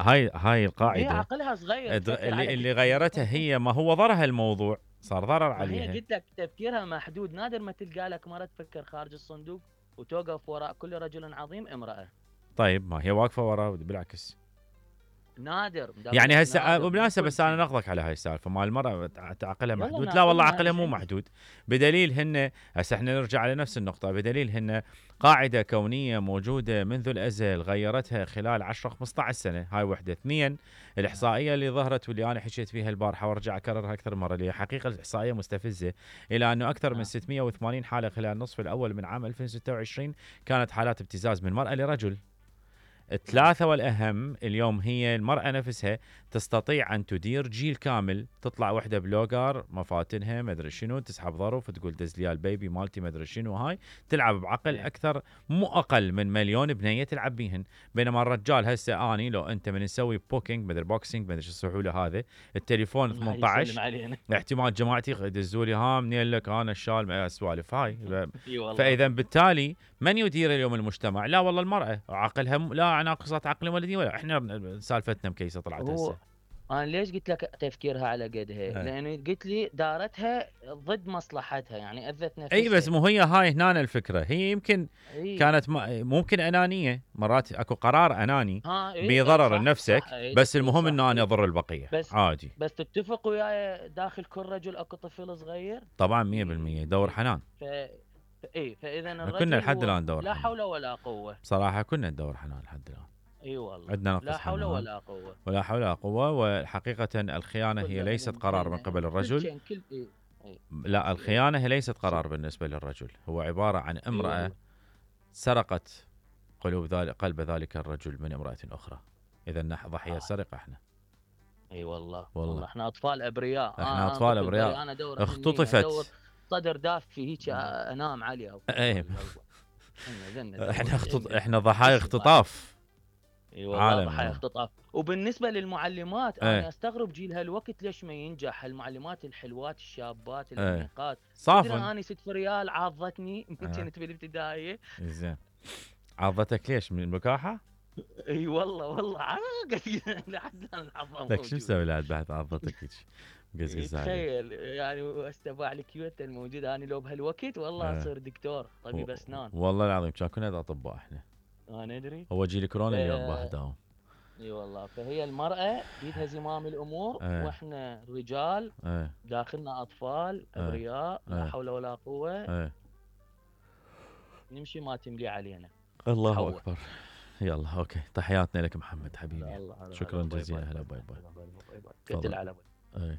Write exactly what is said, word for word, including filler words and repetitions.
هاي هاي هي القاعده عقلها صغير تفكر اللي على اللي كل شيء. غيرتها هي، ما هو ضرها الموضوع، صار ضرر ما هي عليها. قلت لك تفكيرها محدود، نادر ما تلقى لك مرة تفكر خارج الصندوق وتوقف وراء كل رجل عظيم امرأة. طيب ما هي واقفه وراه بالعكس. نادر يعني هسه نادر بالمناسبه، بس انا شيء. نقضك على هاي السالفه مال المراه عقلها يلا محدود. لا والله ناقضني، انا عقلها ايش مو عندي؟ محدود، بدليل هن هسه احنا نرجع لنفس النقطه، بدليل هن قاعده كونيه موجوده منذ الازل، غيرتها خلال عشرة خمسة عشر سنه. هاي وحده. اثنين، الاحصائيه اللي ظهرت واللي انا حكيت فيها البارحه وارجع اكررها اكثر مره، اللي هي حقيقه الاحصائيه مستفزه، الى انه اكثر من ستمئة وثمانين حاله خلال النصف الاول من عام ألفين وستة وعشرين كانت حالات ابتزاز من مراه لرجل. الثلاثة والأهم اليوم هي المرأة نفسها تستطيع أن تدير جيل كامل. تطلع وحدة بلوجر مفاتنها مدري شنو، تسحب ظرف تقول دزليا البيبي مالتي مدري شنو، هاي تلعب بعقل أكثر، مو أقل من مليون بنية تلعب بيهن. بينما الرجال هسه أني لو أنت من نسوي بوكينج مدري بوكسينج مدري شو السحولة هذا، التليفون ثمانية عشر احتمال جماعتي يدزولي ها منين لك أنا الشال السوالف هاي. فإذا بالتالي من يدير اليوم المجتمع؟ لا والله المرأة، عقلها لا ناقصات عقل ولدي ولا احنا سالفتنا مكيسه طلعت هسه. انا ليش قلت لك تفكيرها على قدها؟ لانه قلت لي دارتها ضد مصلحتها، يعني اذت نفسها. اي بس مو هي هاي هنا الفكره، هي يمكن أي. كانت ممكن انانيه، مرات اكو قرار اناني إيه بيضرر صح لنفسك صح. إيه بس المهم صح انه انا إيه. اضر البقيه بس عادي. بس تتفق وياي داخل كل رجل اكو طفل صغير طبعا مية بالمية دور حنان. ف... اي فاذا الرجل كنا لحد الان دور لا حنان. حول ولا قوه بصراحه كنا ندور حنان لحد الان. اي والله عندنا نقص لا حول حنان ولا قوه. ولا حول ولا قوه. وحقيقه الخيانه هي ليست قرار من قبل الرجل. كل كل إيه. إيه. لا الخيانه هي ليست قرار بالنسبه للرجل، هو عباره عن امراه إيه سرقت قلوب ذلك قلب ذلك الرجل من امراه اخرى. اذا نحن ضحيه سرقه احنا. اي أيوة والله. والله والله احنا اطفال ابرياء. احنا آه اطفال ابرياء. انا دور اختطفت صدر دافي هيك انام عليها. ايه احنا اختط... إيه. احنا ضحايا اختطاف. اي والله ضحايا اختطاف. وبالنسبه للمعلمات ايه. انا استغرب جيل هالوقت ليش ما ينجح المعلمات الحلوات الشابات الانيقات. صافن انا ست ريال عاضتني من كنت في الابتدائيه. زين عضتك ليش؟ من البكاحه؟ اي والله والله عاقت لحد الان العظام. لك شو مسوي لها بعد عضتك هيك؟ تخيل يعني استبع الكيوت الموجوده. انا لو بهالوقت والله اصير دكتور طبيب اسنان. والله العظيم كان كنا اطباء احنا. انا ادري. هو جيل كورونا ف... اللي وضحداهم. اي والله. فهي المراه بيدها زمام الامور اه. واحنا رجال اه. داخلنا اطفال ابرياء اه. لا حول ولا قوه اه. نمشي ما تملي علينا. الله حول. اكبر. يلا اوكي تحياتنا لك محمد حبيبي. شكرا جزيلا. هلا باي باي. كتل على باي.